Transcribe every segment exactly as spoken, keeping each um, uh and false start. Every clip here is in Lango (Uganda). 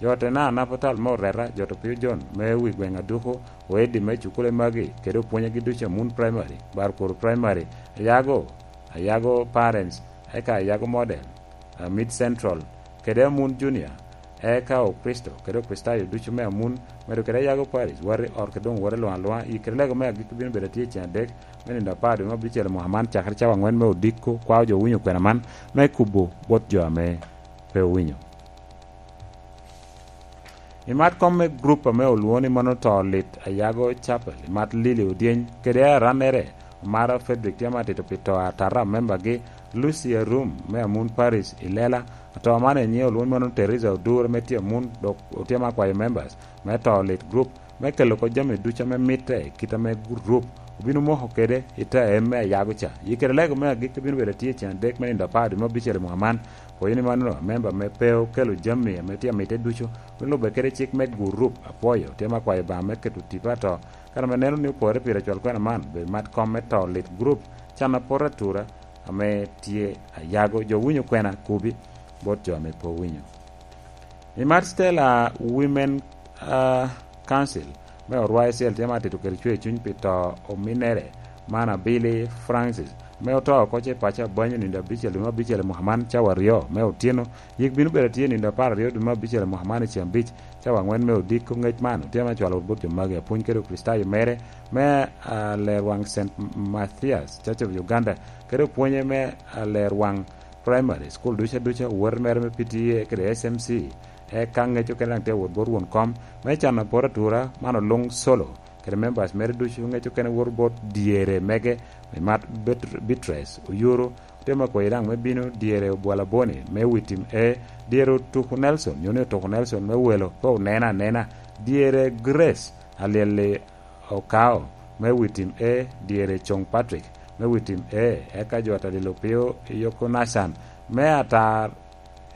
Jo te na napatal me oreta, jo to pio John me wi gweŋ aduku, oedi me cukule magi, kede opwonyegi ducu a Mun Primary, Barkuru Primary, Ayago, Ayago Parents, eka Ayago Model, a Mid Central, kede Amun Junior, eka Okristo, kede Okricitayo ducu me Amun, medo kede Ayago Parish, wari ot kede doŋ wari luŋ aluŋa, i kede lego me agikki bino bedo atye i ceng adek, me nino apar dwe me abicel i mwaka man, cakere cawa angwen me odiko, kwao jo winyo kwena man, me kubo bot jo ame pe owinyo. I mat kom me grup ame olwoŋo ni mano to lit, Ayago Chapel, i mat Lili Odyeny, kede arannere, Omara Frederick tye amatito pi to atata a membagi, Lucy Arum me Amun Parish i Lela, ato man enyiŋe olwoŋo ni mano Teresa Odur ame tye Amun, dok otye ma kwayo members me to lit grup, me kelo oko jami ducu ame mitte i kit ame grup obino moko kede i te em me Ayago ca. Yi kede lego me agikki bino bedo atye i ceng adek me nino apar dwe me abicel i mwaka man. Pwoyo ni mano, amemba ame pe okelo jami ame tye amite ducu, me lubbe kede cik me gurup. Apwoyo, tye me akwayo Obaŋa me keto tipo ato, kan ame neno ni opore pire cwal kwena man, bedo mat kom me to lit gurup, can apot atura ame tye Ayago, jo winyo kwena kubi bot jo ame pe owinyo. I mat Stella Women, ah, Council me Orwa Icel tye ma atito kede cwer cuny pi to ominnere, man Abili Francis, me oto oko ce paco abanyo nindo abicel dwe me abicel i mwaka man cawa aryo me otyeno. Yik bino bedo atye nindo apar aryo dwe me abicel i mwaka man i ceng abic cawa angwen me odiko. Ngec man otye ma cwalo bot jo magi, apwony kede Okricitayo mere me, ah, Lerwaŋ Saint Mathias Church of Uganda, kede opwonye me, ah, Lerwaŋ Primary School duca duca, wot mere me P T A kede S M C, eka ŋec okene daŋ tye wot bot won kom me can apor atura, man oluŋ Solo kede members mere ducu. Ŋec okene woto bot dyere mege, me mat Bet-, Beatrice Oyuru, otye ma kwoyo daŋ me bino dyere Obwalaboni me wi tim A, dyere Otuku Nelson, nyo ni Otuku Nelson me welo pe onena anena, dyere Grace Alyel-li Okao me wi tim A, dyere Cong Patrick me wi tim A, eka jo atalil opio i Yoko Nathan me atar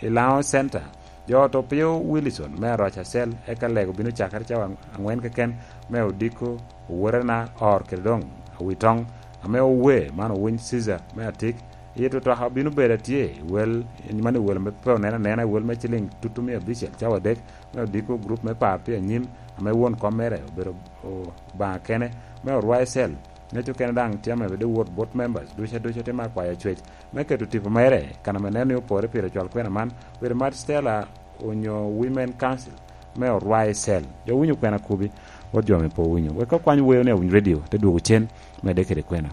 i Laŋo Center. Jo ot opio Wilson me Aroca Cell, eka lego bino cakere cawa aŋwen keken me odiko, owotena Or kede doŋ Awitoŋ ame owe man owiny Caesar me Atik. Yito toka obino bedo atye i wel, man i wel ame pe oneno anena, i wel me ciliŋ tutumia abicel cawa adek, me odiko grup me par tye anyim, ame won kom mere obedo Obaŋa kene, me Orwa Icel. Ŋec okene daŋ tye ame bedo wot bot members duca duca tye me akwayo cwec me keto tipo mere, kan ame neno ni opore pire cwal kwena man, bedo mat Stella onyo Women Council me Orwa Icel. Jo winyo kwena kubi, wot jo ame pe owinyo. Wek okwany weyo ni awiny radio, te dwogo cen, medde kede kwena.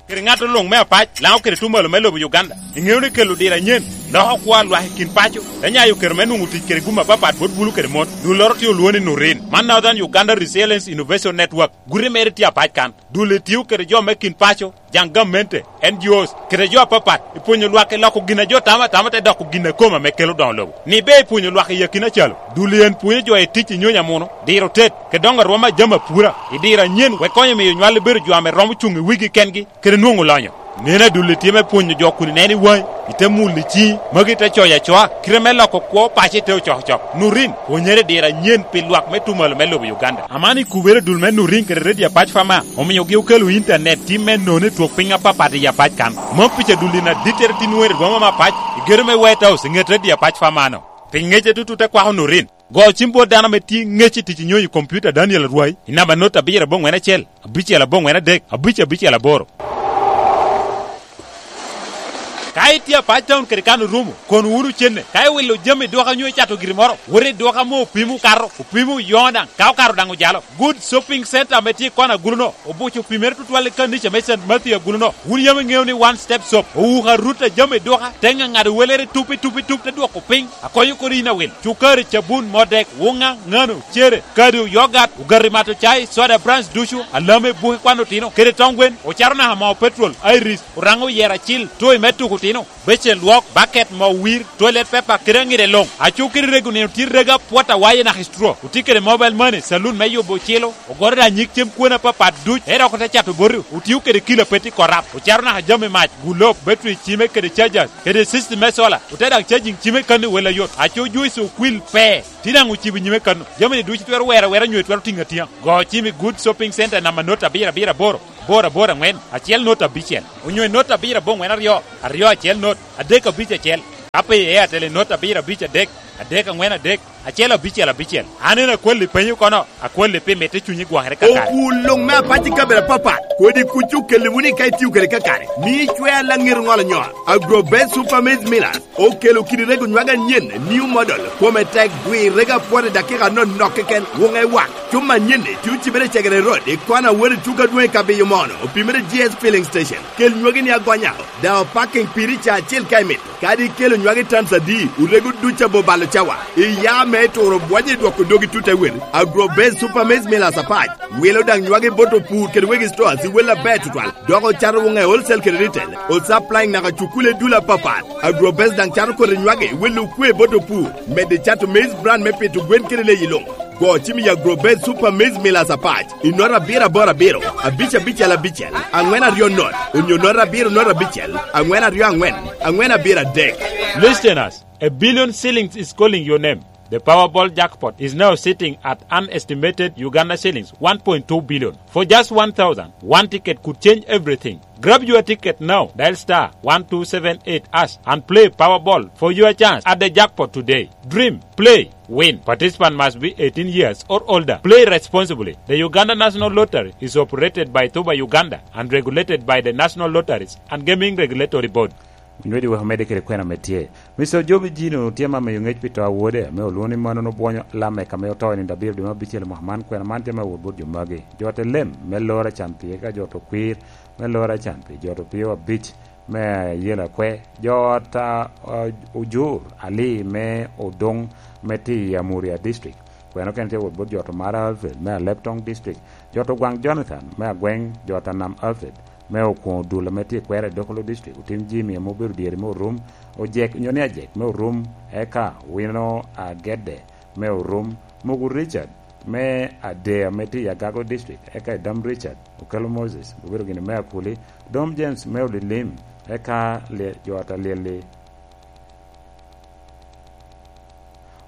Kede ŋat oluŋ me apac, Laŋo kede Tumalo me lobo Uganda. Iŋeo ni kelo diro anyen, loko kwo a lwak i kin paco, te nyayo kero me nwoŋo tic kede gum apapat bot bulu kede mon. Dulloro tye olwoŋo ni Nurin. Man Northern Uganda Resilience Innovation Network. Guti mere tye apac kan. Dulli tio kede jo me kin paco, jaŋ gamente, N G Os, kede jo apapat, i pwonyo lwak i loko gin a jo tamo atama te doko gin a kome ame kelo doŋo lobo. Ni be i pwonyo lwak i akina calo, dulli en pwonyo jo i tic i nyonyo amuno, diro tet, kede doŋo arwom a jami apura, i diro anyen, wek konyo miyo nywal bedo jo ame romo cuŋ i wigi kengi, kede nwoŋo lonyo. Neno adulli tye me pwonyo jo kun ineno i waŋi, ite mulo i ciŋi, magi te coyo acoa, kite me loko kwo paco ite ocokocok. Nurin, pwonyere diro anyen pi lwak me Tumalo me lobo Uganda. Aman i kubere dul me Nurin kede Radio Apac Fama, omiogi okelo internet tim me nono i twok piny apapat i Apac kan. Mom pica dul in adittere tin weri boma me Apac, i gero me White House, i ŋet Radio Apac Fama no. Pi ŋece tutu te kwako Nurin. Go cim bot dano ame tye ŋec i tic i nyonyo i kompiuta Daniel Arwai, i namba not abiro aboŋwen acel, abicel aboŋwen adek, abic abicel aboro. Ka itye apac taun kede kan orumo, kono wunu cenne. Ka iwilo jami i duka nyo icato giri moro, wot i duka ame opimo okato, opimo oyoŋo daŋ, ka okato daŋ ojalo. Good Shopping Center ame tye i kona agulu-no, obuco opimere tutwal i kanica me Saint Matthew agulu-no. Wun yam iŋeo ni One Step Shop owuko arut a jami i duka, te ŋaŋado welere tup i tup i tup, te dwoko piny, akonyo kodi in awil. Cukari, cabun, modek, wuŋa, ŋano, cere, kado, yogat, ogati mato cai, soda brands ducu, alame, buke kwan otino, kede tong gwen, ocato naka moo petrol, Iris, oraŋo oyero acil, toy me tuko otino, becen lwok, baket, moo wir, toilet paper, kede aŋide luŋ. Aco kede rego nino tye rega pwot awaye naka i straw. Otye kede mobile money, saloon me yubo ocilo, ogoto da nyig cem kwena apapat duc, ero oko te cato boti, otio kede kilo apeti korap, ocato naka jami mac, gulob, battery cime kede chargers, kede system me solar, ote daŋ charging cime kano i wel ayot. Aco juice okwil pe, tye daŋ ocibo nyime kano. Jami-ni ducu twero wero awera nyo twero tiŋo atiŋa. Go cim i Good Shopping Center namba not abiro abiro aboro, boro aboro aŋwen, acel not abicel, onyo i not abiro aboŋwen aryo, aryo acel not, adek abic acel. Ka pe i Airtel inot abiro abic adek, adek aŋwen adek, acel abicel abicel. An en akwalli penyo kono, akwalli pi mitte cunyi gwokere kakare. Okul luŋ me apac i kabedo apapat, kodi kuc okelle wunu i ka itio kede kakare. Mi icwe alaŋir ŋolo nyo. Agrobest Super Maize Millers okelo kidi rego nywage anyen, new model, kome tek, dwi rego apwot i dakika anonok keken, wuŋe wak. Cuma anyen-ni tye ocibere i Cegere Road, i kona wot i tugo adwoŋ i Kabiyo Mono, opimere G S Filling Station. Kel nywagi ni agonya, daŋ opaking piri ca acel ka imito. Kadi ikelo nywagi tans adi, orego duc abo balo cawa. Iya me turo bwonyo i dwoko dogi tut awel. Agrobest Super Maize Millers apac wilo daŋ nywagi bot opur kede wegi stores i wel aber tutwal. Dok ocato wuŋe wholesale kede retail. Osupplying naka cukule dul apapat. Agrobest daŋ cato kodi nywagi i wel okwe bot opur. Medde cato maize bran me pito gwen kede leyi luŋ. Go cim i Agrobest Super Maize Millers apac i nota abiro aboro abiro, abic abicel abicel, aŋwen aryo not, onyo nota abiro not abicel, aŋwen aryo aŋwen, aŋwen abiro adek. Listeners, a billion shillings is calling your name. The Powerball jackpot is now sitting at an estimated Uganda shillings one point two billion. For just one thousand, one ticket could change everything. Grab your ticket now. Dial star one two seven eight hash and play Powerball for your chance at the jackpot today. Dream, play, win. Participant must be eighteen years or older. Play responsibly. The Uganda National Lottery is operated by Thuba Uganda and regulated by the National Lotteries and Gaming Regulatory Board. Nywedi wek omedde kede kwena me tye. Mister Ojobi Jino tye ma miyo ŋec pi to a wode, ame olwoŋo ni mano onobwonyo Lamek, ame oto i nino abiro dwe me abicel i mwaka man. Kwena man tye ma wot bot jo magi. Jo te lem me lora can pie, ka jo to kwir me lora can pie, jo to pio abic me ayela kwe, jo ot a, a, ojur ali me odoŋ me ti i Amuria District. Kwena okene tye wot bot jo to Mara Alfred me Aleptong District, jo to Gwaŋ Jonathan me Agweŋ, jo to Nam Alfred me okwoŋo dul ame tye i kwera i Dokolo District, otim jami ame obedo dyere me orum, ojek, nyo ni ajek me orum, eka wino agedde me orum, mogo Richard me ade ame tye i Agago District, eka i dam Richard, okelo Moses, obedo gini me Akuli, dom James me Olilim, eka lye-, jo ata lyel-li.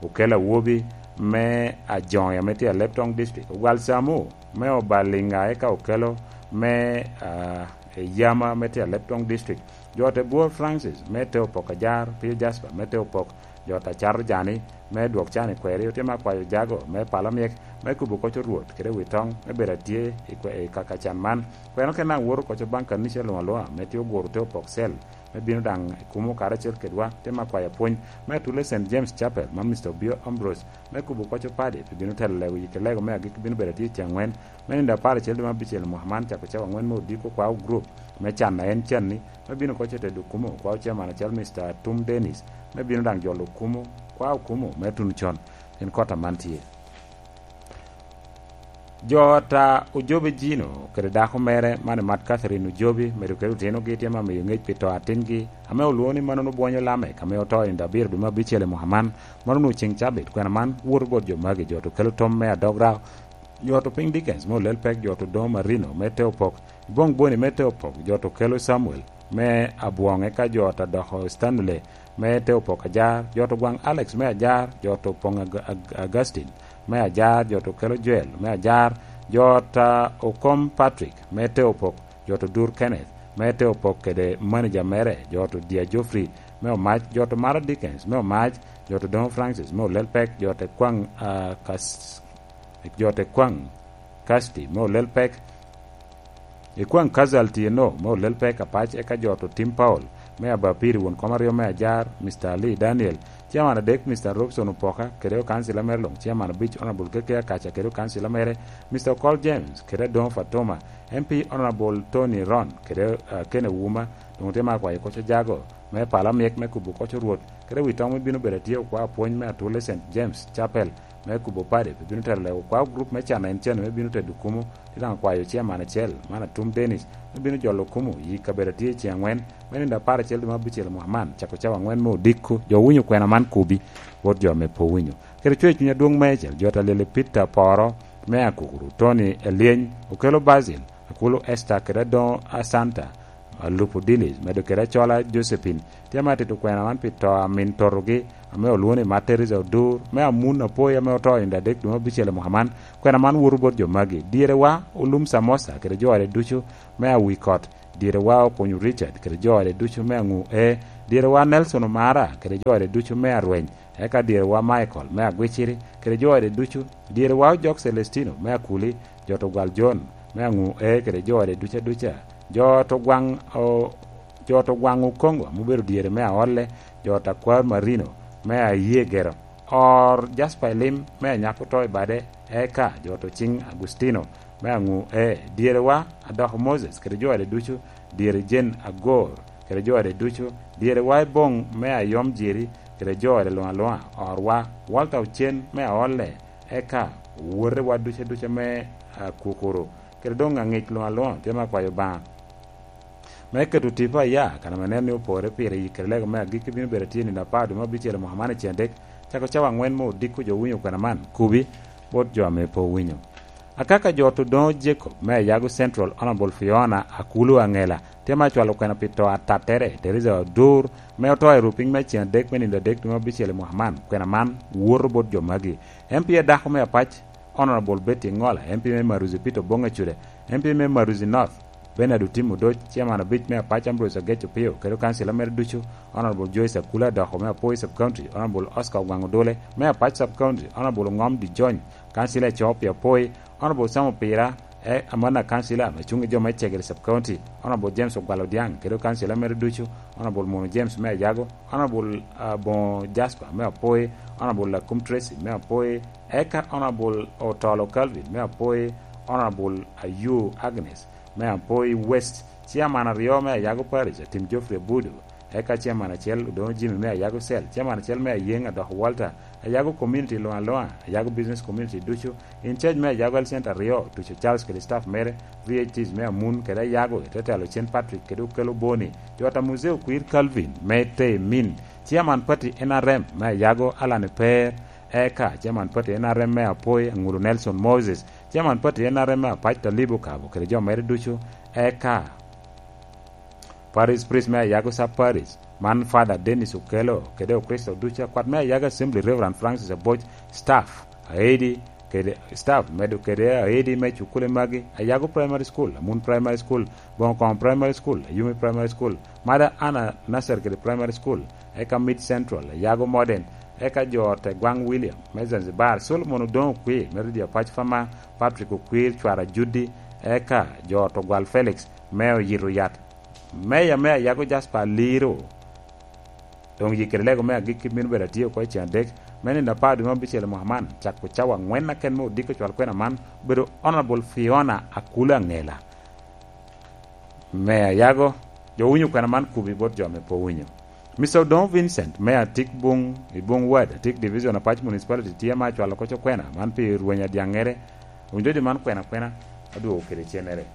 Okelo awobi me Ajoŋi ame tye Aleptong District, Ogwal Samu me Obalinga, eka okelo me, ah, Eyama me tye Aleptong District. Jo te Bwor Francis me te opok ajar, Pio Jasper me te opok, jo te Acato Jani me dwok can i kweri, otye me akwayo jago me pala myek, me kubo koc orwot kede wi toŋ, me bedo atye i kwe-, i kaka can man. Kweno kena awoto koc baŋ kanica luŋ aluŋa, me tye oguro te opok cell, me bino daŋ i kumo karacel kedwa, te me akwayo pwony me atule Saint James Chapel, man Mister Obio Ambrose, me kubo koc opadi, pi bino telo lego yik lego me agik bino bedo atye i ceng ŋwen, me nindo apar acel dwe me abicel mwaka man, cako cawa ŋwen me odiko kwao group me can a en canni, me bino koc otedo kumo kwao chairman acel Mister Atum Dennis, me bino daŋ jolo kumo, kwao kumo me tuno con, en kota man tye. Jo ata Ojobe Jino kede dako mere, man Emat Catherine Ojobe, medo kede otinogi tye ma miyo ŋec pi to atingi, ame olwoŋo ni mano onobwonyo Lamek, ame oto i nino abiro dwe me abicel i mwaka man. Mano onwoŋo ceŋ cabit, kwena man woto bot jo magi, jo to kelo tom me adog rao, jo to piny Dickens me Olel Pek, jo to doŋo Marino me te opok, Boŋ Boni me te opok, jo to kelo Samuel me Abwoŋe, ka jo ta doko Stanley me te opok ajar, jo to gwaŋ Alex me ajar, jo to poŋ Ag-, Ag-, Augustine me ajar, jo to kelo Joel me ajar, jo ta okom Patrick me te opok, jo to dur Kenneth me te opok kede manager mere, jo to Dia Geoffrey me omac, jo to Mara Dickens me omac, jo to doŋo Francis me Olel Pek, jo te kwaŋ, ah, kas-, jo te kwaŋ Kasti me Olel Pek, ikwaŋ Kazal Tieno me Olel Pek apac, eka jo to Tim Paul me Abapiri, won kom aryo me ajar, Mister Ali Daniel, chairman adek, Mister Robson Opoka, kede okansila mere luŋ, chairman abic, Honorable Keke Akaca, kede okansila mere, Mister Okol James, kede Adongo Fatuma, M P Honorable Tony Ron, kede, ah, Ken Ouma, doŋ tye me akwayo koc ojago, me pala myek me kubo koc orwot, kede wi toŋ me bino bedo atye okwa apwony me atule Saint James Chapel, me kubo padi, pi bino telo lego kwa gurup me can en cen me bino tedo kumo, tye daŋ akwayo chairman acel, man Atum Dennis, me bino jolo kumo i kabedo atye i ceng angwen, me nindo apar acel dwe me abicel mwaka man, cako cawa angwen me odiko, jo winyo kwena man kubi, bot jo me po winyo. Kede cwer cuny adwoŋ meicel, jo ta lyel i Peter Poro, me Akukuru, Tony Elyeny, okelo Basil, Akulu Esther, kede Adoŋo Asanta, Alupo Dilis, medo kede Acola Josephine, tye ma atito kwena man pi to a min totogi, ame olwoŋo ni Matt Teresa Odur, me Amun Apoi, ame oto i nino adek dwe me abicel i mwaka man. Kwena man woto bot jo magi. Dyere wa, Olum Samosa, kede jo ode ducu, me Awikot, Dyerewa Okonyo Richard kede jo ode ducu me Aŋu E, dyerewa Nelson Omara kede jo ode ducu me Arweny, eka dyerewa Michael me Agwiciri kede jo ode ducu, dyerewa Ojok Celestino me Akuli, jo to gwal John me Aŋu E kede jo ode duca duca, jo to gwaŋ, o, jo to gwaŋ Okongo ame obedo dyere me Aolle, jo to akwar Marino me Ayegero, or Jasper i lim me anyako to i bade, eka jo to ciŋ Agustino me Aŋu E, dyerewa Adoko Moses kede jo ode ducu, dyere Jen Agor kede jo ode ducu, dyerewa i boŋ me Ayom Jeri kede jo ode luŋ aluŋa, orwa Walter Ocen me Aolle, eka wotewa duca duca me Akukuru kede doŋ aŋic luŋ aluŋa, tye me akwayo Obaŋa me keto tipo aya, kan ame nen ni opore pire i kede lego me agikki bino bedo atye nino apar dwe me abicel i mwaka man i cen adek, cako cawa aŋwen me odiko jo winyo kwena man, kubi bot jo ame pe owinyo. Akaka jo to doŋo Jacob me Ayago Central, Honorable Fiona Akulu Aŋela, tye ma acwalo kwena pi to atattere, Teresa Odur, me oto i rupiny me cen adek me nino adek dwe me abicel i mwaka man. Kwena man woto bot jo magi: M P adako me Apac, Honorable Betty Ŋola, M P me Maruzi Peter Oboŋ Acude, M P me Maruzi North, Bernard Otim Odoc, Chairman abic me Apac Ambrose Agec Opio, kede okancila mere ducu, Honorable Joyce Akula Adoko me Apoi Sub County, Honorable Oscar Ogwaŋ Odole me Apac Sub County, Honorable Oŋom Dijony, kancila Ecop i Apoi, Honorable Sam Opira, e, Amana kancila ame cuŋ i jo me Cegere Sub County, Honorable James Ogwal Odiaŋ, kede okancila mere ducu, Honorable Mono James me Ayago, Honorable, ah, Boŋo Jasper me Apoi, Honorable Lakum Tracy me Apoi, eka Honorable Otolo Calvin me Apoi, Honorable Ayu Agnes me Apoi West, Chairman aryo me Ayago Parish, Atim Geoffrey Abudu, eka Chairman acel Odoŋo Jimmy me Ayago Cell, Chairman acel me Ayeŋ Adoko Walter, Ayago Community luŋ aluŋa, Ayago Business Community ducu, in charge me Ayago Health Center aryo, Tuco Charles kede staff mere, V H Ts me Amun kede Ayago, i te telo Cen Patrick kede Okelo Boni, jo ta Muzee Okwir Calvin me Temin, Chairman Party N R M me Ayago Alan Eper, eka Chairman Party N R M me Apoi Aŋulu Nelson Moses, Chairman Party N R M me Apac Talib Okabo kede jo mere ducu, eka Parish Priest me Ayago Sub Parish, man Father Dennis Okello, kede Okricito ducu, akwat me Ayago Assembly, Reverend Francis Aboc, staff, aedi, kede staff, medo kede aedi me cukule magi, Ayago Primary School, Amun Primary School, Boŋokoŋo Primary School, Ayumi Primary School, Mother Anna Nursery kede Primary School, eka Mid Central, Ayago Modern, eka jo te Gwaŋ William me Zanzibar, Solomon Odoŋo Okwi me Ridi Apac Fama, Patrick Okwir, Cwara Judi, eka jo to Gwal Felix me Oyito Yat, Meya me Ayago Jasper Aliro, doŋ yikere lego me agikki bino bedo atye oko i cen adek me nino apar dwe me abicel i mwaka man, cako cawa aŋwen aken me odiko cwal kwena man, obedo Honorable Fiona Akula Aŋela. Me Ayago, jo winyo kwena man kubi bot jo ame pe owinyo. Mister Odoŋo Vincent, me Atik Buŋ, i Buŋ Ward, Atik Division, Apac Municipality, tye ame acwalo koc okwena man pi rweny adyaŋere. Winyo jo man kwena kwena, adwogo kede cennere.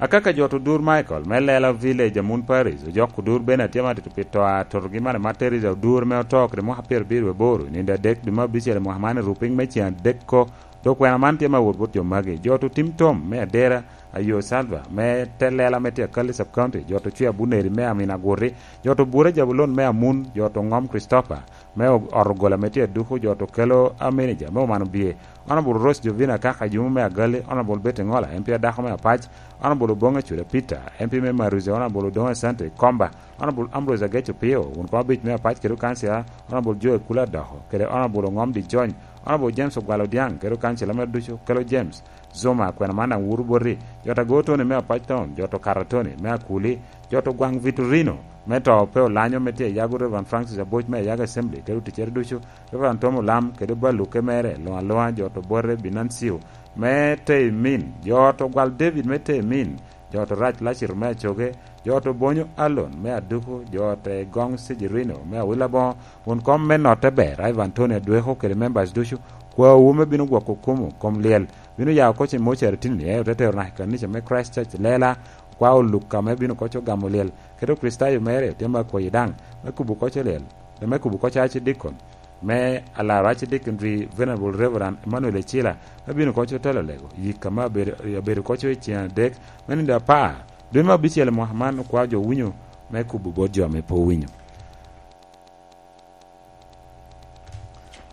Akaka jo to Odur Michael, me Lela Village, Amun Parish, ojok Odur bene atye ma tito pi to a totogi man, ma Teresa Odur, me oto kede mwaka pyerabiro aboro, i nino adek dwe me abicel i mwaka man, i rupiny me cen adek ko, dok kwena man tye ma wot bot jo magi. Jo to Tim Tom, me Adera, Ayo Salva, me te Lela me tye Akali Sub County, jo to Cwe Abuneri, me Amin Agurri, jo to Bura Jabulon, me Amun, jo to Ŋom Christopher, me o-, ot ogola me tye Aduku, jo to Kelo, a, manager me Oman Obie, Honorable Rose Jovina Kaka Yumo me Agali, Honorable Betty Ngola, M P adako me Apac, Honorable Obonge Cuda Peter, M P me Maruzi, Honorable Odongo Asante Komba, Honorable Ambrose Ageco Pio, wun kom abic me Apac kede okansila, Honorable Joe Kula Doko, kede Honorable Ongom Dijony, Honorable James Ogwal Odiang, kede okansila mere ducu, Kelo James Zuma, kwena man daŋ wuro boti, jo ta Go Tony me Apac Town, jo to Kara Tony me Akuli, jo to Gwaŋ Vitorino, me to pe olanyo me tye Ayago, Reverend Francis Aboc me Ayago Assembly, kede oticere ducu, Reverend Tom Olam, kede baluke mere, luŋ aluŋa, jo to Bote Binancio, me Temin, jo to Gwal David me Temin, jo to Rac Laciro me Acoge, jo to Bonyo Alon me Aduku, jo to Egong Sijirino me Awila Boŋo, won kom me notte ber, Ivan Tony Adweko kede members ducu, kwawu me bino gwoko kumo kom lyel, bino ya oko cen mocere tini, eh, ote tero naka i kanica me Christ Church Lela, kwa Oluka me bino koc ogamo lyel, kede Okricitayo mere, tye me akwayi daŋ, me kubo koc olyel, me kubo koc Archdeacon, me alaro Archdeacon Venerable Reverend Emmanuel Ecila, me bino koc otelo lego, yik ame abedo, abedo koc i cen adek, me nino apar, dwe me abicel i mwaka man, okwa jo winyo me kubo bot jo ame pe owinyo.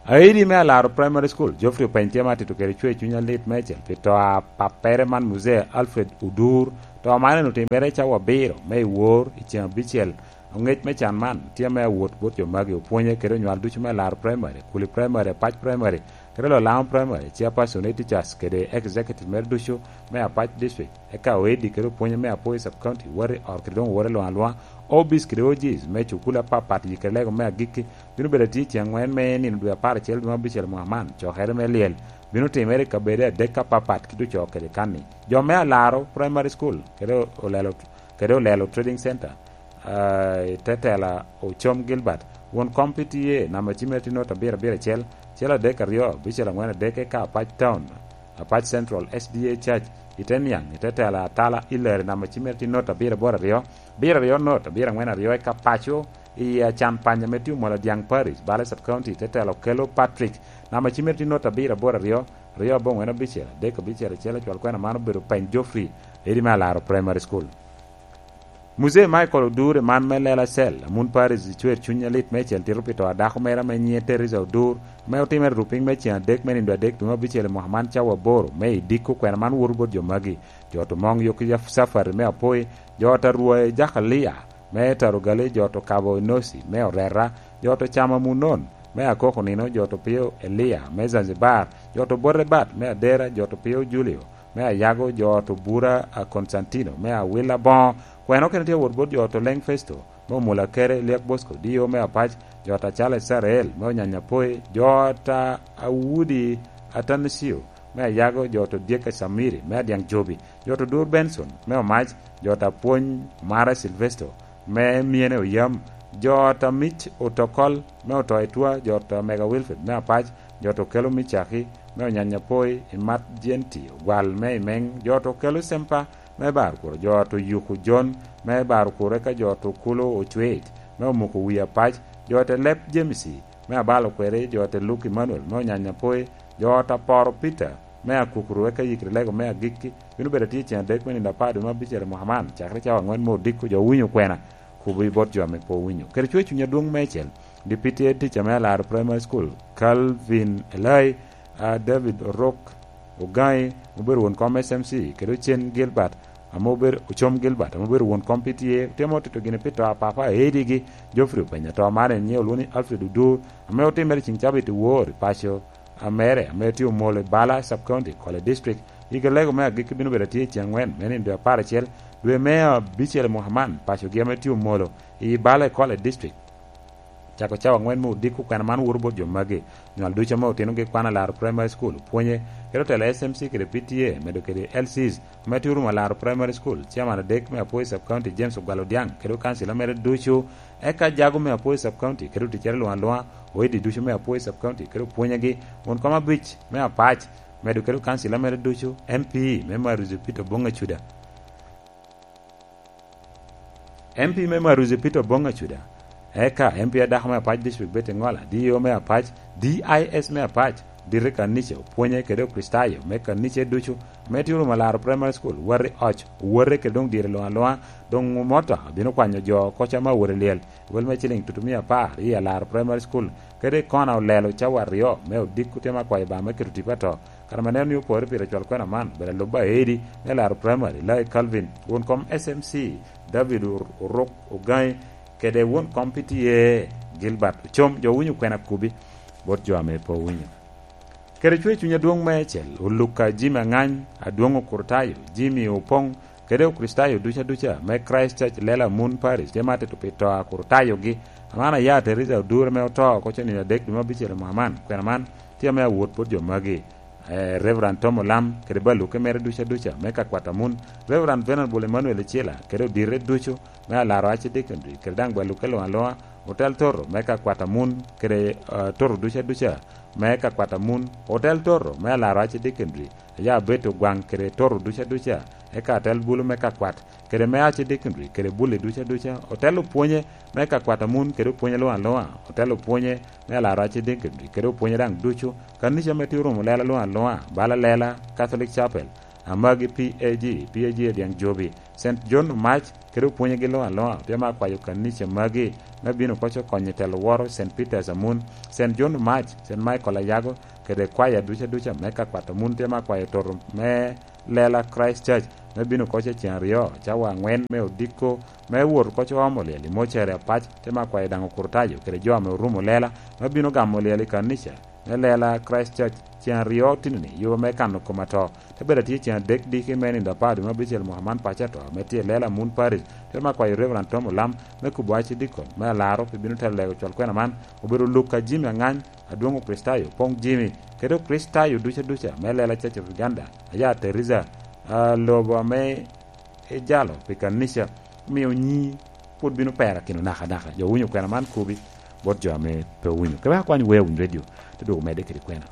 Aidi me Alaro Primary School, Geoffrey Openy tye ma tito kede cwer cuny alit meicel pi to a pappere man, Muzee Alfred Odur. To man en otimere cawa abiro me i wor i ceng abicel. Oŋec me can man tye me awot bot jo magi, opwonye kede onywal ducu me Alaro Primary, Kuli Primary, Apac Primary, kede Lolamo Primary, chairperson, teachers kede executive mere ducu me Apac District. Eka oedi kede opwonye me Apoi Sub County, wati ot kede doŋ owote luŋ aluŋa. O Bs kede O Gs me cukul apapat i kede lego me agikki bino bedo atye i ceng angwen me nino dwe apar acel dwe me abicel mwaka man. Cokere me lyel bino timere i kabedo adek apapat kit ocoo kede kanni. Jo me Alaro Primary School kede Olelo, kede Olelo Trading Center, ah, i te tela Ocom Gilbert. Won kom P T A namba cimere tye nota abiro abiro acel, acel adek aryo, abicel angwen adek, eka Apac Town, Apac Central S D A Church, i te niaŋ, i te tela Atala Hillary namba cimere tye nota abiro aboro aryo, abiro aryo nota abiro angwen aryo, eka paco i Acan Panya me tye Omolo Dyaŋ Parish, Bale Sub County, i te tela Okello Patrick namba cimere tye nota abiro aboro aryo, aryo abongwen abicel, adek abicel acel. Acwal kwena man obedo Peny Geoffrey, edi me Alaro Primary School. Muzee Michael Odur, i man me Lela Cell, Amun Parish, cwer cuny alit meicel tito pi to a dako mere ame nyiŋe Teresa Odur, ame otimere rupiny me ceng adek me nindo adek dwe me abicel i mwaka man cawa aboro, me i dikko kwena man woto bot jo magi: jo to Moŋ Yoki Safari me Apoi, jo to Arwai Jakalia me Tarugali, jo to Kabo Inosi me Orera, jo to Cama Munon me Akoko Nino, jo to Pio Elia me Zanzibar, jo to Bote Bat me Adera, jo to Pio Julio me Ayago, jo to Bura a Konstantino me Awila Boŋo. Kwena okene tye awot bot jo to Leŋ Festo me Omula Kere, Liak Bosco D O me Apac, jo to Acalo Isarael me Onyanya Poi, jo to Awudi Atanisio me Ayago, jo to Dyek Acamiri me Adyaŋ Jobi, jo to Dur Benson me Omac, jo to Apwony Mara Silvesto me Myene Oyam, jo to Mic Otokol me Oto Etwa, jo to Mega Wilfred me Apac, jo to Kelo Micaki me Onyanya Poi, Imat Jenti Ogwal me Imeŋ, jo to Kelo Sempa me Barkuro, jo to Yuku Jon me Barkuro, eka jo to Kulo Ocwec me Omuko Wi Apac, jo to Lep Jemisi me Abalo Kweri, jo to Luke Emmanuel me Onyanya Poi, jo to Aporo Peter me Akukuru, eka yikri lego me agikki bino bedo atye i ceng adek me nino apar dwe me abicel i mwaka man, cakere cawa angwen me odiko. Jo owinyo kwena, kubo i bot jo ame pe owinyo. Kede cwer cuny adwoŋ meicel, Deputy Head Teacher me Alaro Primary School, Calvin Elai, a, David Orok Ogaŋi, obedo won kom S M C, kede Ocen Gilbert, ame obedo, Ocom Gilbert, ame obedo won kom P T A, otemo tito gini pi to a papa a edigi, Geoffrey Openy. To man en nyiŋe olwoŋo ni Alfred Odur, ame otimere ceŋ cabit i wor i paco a mere, ame tye Omolo i Bala Sub County, Kole District. Yikri lego me agikki bino bedo atye i ceng angwen me nino dwe apar acel, dwe me abicel i mwaka man. Pacogi ame tye Omolo i Bala i Kole District, cako cawa angwen me odiko, kwena man woto bot jo magi: nywal ducu ame otinogi kwan Alaro Primary School, opwonye, kede otelo S M C kede P T A, medo kede L Cs, ame tye Orumo Alaro Primary School, chairman adek me Apoi Sub County, James Ogwal Odiaŋ, kede okancila mere ducu, eka jago me Apoi Sub County, kede oticere luŋ aluŋa, oedi ducu me Apoi Sub County, kede opwonyegi, won kom abic me Apac, medo kede okancila mere ducu, M P me Maruzi Peter Oboŋ Acuda. M P me Maruzi Peter Oboŋ Acuda, eka M P adako me Apac District Betty Ŋola, D O me Apac, D I S me Apac, dito i kanica, opwonye kede Okricitayo me kanica ducu, ame tye Orumo Alaro Primary School, wati oc, owote kede doŋ dire luŋ aluŋa, doŋ motoka bino kwanyo jo koca me awot i lyel, wel me ciliŋ tutumia apar i Alaro Primary School, kede i kona olelo cawa aryo me odiko, tye ma kwayo ba me keto tipo ato. Kare ma neno ni opore pire cwal kwena man, bene lub aedi me Laro Primary, Lai Calvin, won kom S M C, David Or-, Orok Ogaŋi, kede won kom P T A, Gilbert Ocom. Jo winyo kwena kubi bot jo ame pe owinyo. Kede cwer cuny adwoŋ meicel, Oluka Jimmy Aŋany, Adwoŋ Okurtayo, Jimmy Opoŋ, kede Okricitayo duca duca me Christ Church Lela Moon Parish, tye ma tito pi to a Okurtayogi. Aman aya Teresa Odur ame oto oko cen nino adek dwe me abicel i mwaka man, kwena man tye ame awot bot jo magi, eh, Reverend Tom Olam, kede baluke mere duca duca me ka kwat Amun, Reverend Venerable Emmanuel Icila, kede odite ducu me Alaro Archdeaconry, kede daŋ baluke luŋ aluŋa, otel toto me ka kwat Amun, kede, eh, toto duca duca me ka kwat Amun, otel toto me Alaro Archdeaconry, aya Betty Ogwaŋ, kede toto duca duca, eka atel bulu me ka kwat, kede me Archdeaconry, kede bulli duca duca, otel opwonye me ka kwat Amun, kede opwonye luŋ aluŋa, otel opwonye me Alaro Archdeaconry, kede opwonye daŋ ducu, kanica me tye Orumo Lela luŋ aluŋa, bala Lela Catholic Chapel, Amagi P A G, P A G Adyaŋ Jobi, Saint John Mac, kede opwonyegi luŋ aluŋa, tye me akwayo kanica magi me bino koc okonyo i telo woro Saint Peter's Amun, Saint John Mac, Saint Michael Ayago, kede kwaya duca duca me ka kwato mun, tye me akwayo toto me lela Christ Church me bino koc i ceŋ aryo, cawa aŋwen me odiko, me wot koc oomo lyel i mocere apac, tye me akwayo daŋ okurutayo kede jo ame orumo lela me bino gamo lyel i kanica me lela Christ Church ceŋ aryo tino-ni, yo me kano kom ato. Te bedo atye ceŋ adek diki me nindo apar dwe me abicel mwaka man paco ato, ame tye i lela Moon Parish, te me akwayo Reverend Tom Olam me kubo acidikon me alaro pi bino telo lego cwal kwena man, obedo Luka Jimmy Angany, Adwoŋ Okricitayo, Poŋ Jimmy, kede Okricitayo duca duca me lela Church of Uganda, aya Teresa, ah, lobo ame ejalo pi kanica, omio nyi pwod bino perakino nakanaka. Jo winyo kwena man kobi bot jo ame pe winyo. Kebe akwany wea winy redio, te dwogo medde kede kwena.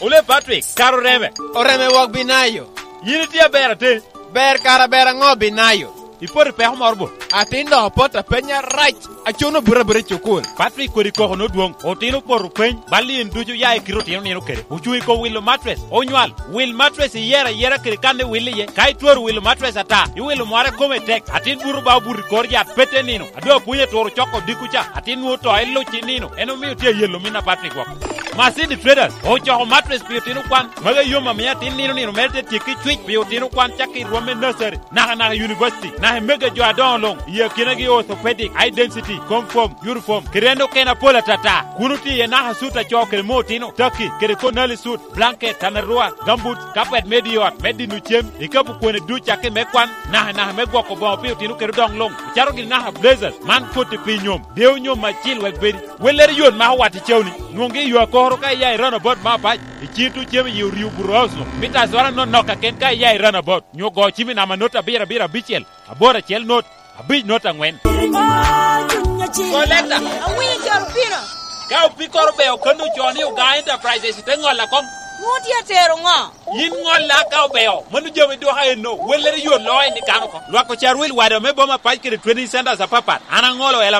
Ole Patrick, kara oreme. Oreme wok Binayo. Yin itye aber ate? Ber kara ber aŋo Binayo? Ipoto i peko moro bo? Atin dok opot apenya rac. Acuno buto abuta i cukul. Patrick kodi koko nodwoŋ. Otino opoto peny. Bal in ducu ya i kite otino nino kede. Ocuŋ i kom wilo matres. Onywal. Wil matres iyero ayera kede kan iwil iye. Ka itwero wilo matres ata, iwilo mware kome tek. Atin buto ba obuto i kor yat pete nino. Ado apwony aturo coko diko ca. Atin nwoŋo to iluc i nino. En omio tye ayelo min a Patrick woko. Masini Traders ocoko matres pi otino kwan. Magi yom amio atin nino nino mere te tyekki cwic pi otino kwan cakki i rwom me nursery. Nakanaka i univaciti, naka i mego a jo adoŋo luŋ, i akinagi orthopedic, eye density, confirm, uniform, kede en okene apol atata. Kun otye iye naka sut a co kede me otino, taki, kede konali sut, blanket, tanarua, gambut, kapet me di ot, me dino cem, ikapu kwone duc cakki me kwan, nakanaka me gwoko boŋo pi otino kede odoŋ luŋ, icaro gini naka blazers, man koti pi nyom, deo nyom acil wek bedi. Wellere yot mako wat i cawni, nwoŋgi i yo akoro ka iya i roundabout me apac, i cito cem i yi oryo buto house luŋ, mita azwara nonok kaken ka iya i roundabout. Nyo go cim i namba not abiro abiro abicel, aboro acel not, abic not aŋwen. Koleta. Awinyo coro pino. Ka opikoro beo kano ocoo ni Oga Enterprises te ŋolla kom. Nwoŋo tye atero ŋo? Yin ŋolla ka obeo, mano jami dwoka enno, wellere yot loo en i kano oko. Lwak ocar wil wada me boma pac kede training centers apapat, an aŋolo ela